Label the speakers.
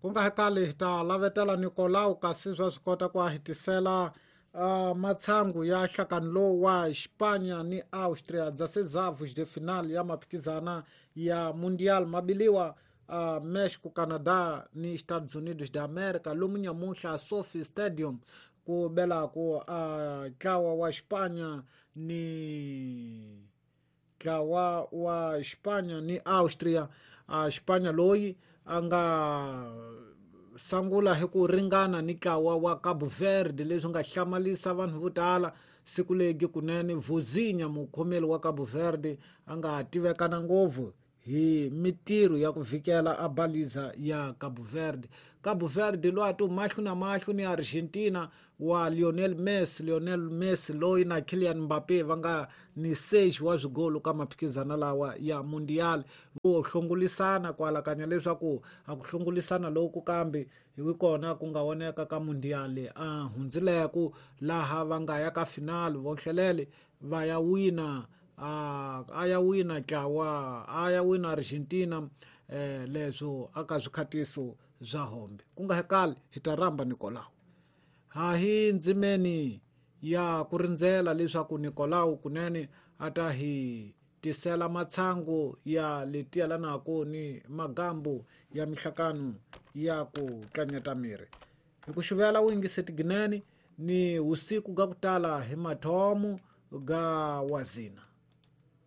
Speaker 1: Ku nga hetali hi ta lavetela Nicolau kasi swa swi kota ku a hi tisela matshangu ya nhlakano lowu wa Xipanya ni Austria 16avos de final ya maphikizana ya Mundial mabiliwa Mexico, Canada ni Estados Unidos de America lomu nyamuhla Sophie Stadium ku belaku ntlawa wa Xipanya ni ntlawa wa Xipanya ni Austria. Xipanya loyi a nga sangula hi ku ringana ni ntlawa wa Cabo Verde leswi nga hlamalisa vanhu vo tala siku legi kunene Vozinha mukhomeli wa Cabo Verde a nga tivekana ngopfu hi mitirho ya ku vhikela a baliza ya Cabo Verde. Cabo Verde loyi a ti mahlo na mahlo ni Argentina wa Lionel Messi, Lionel Messi loyi na Kylian Mbappe va nga ni 6 wa swigolo ka maphikizana lawa ya Mundial. Vo hlongolisana ku alakanya leswaku a ku hlongolisana loku kambe hi kona ku nga voneka ka Mundial a hundzileku laha va nga ya ka final vonhlelele va ya wina a ya wina ntlawa a ya wina Argentina leswo aka swikhatiso bya hombe ku nga hekali hi ta rhamba Nicolau ha hi ndzimeni ya ku rindzela leswaku Nicolau kunene a ta hi tisela matshangu ya leti yelanaka ni magambu ya mihlakano ya ku tlanyeta miri hi ku xuvela u yingise tiginene ni usiku ga ku tala hi mathomo ga wazina.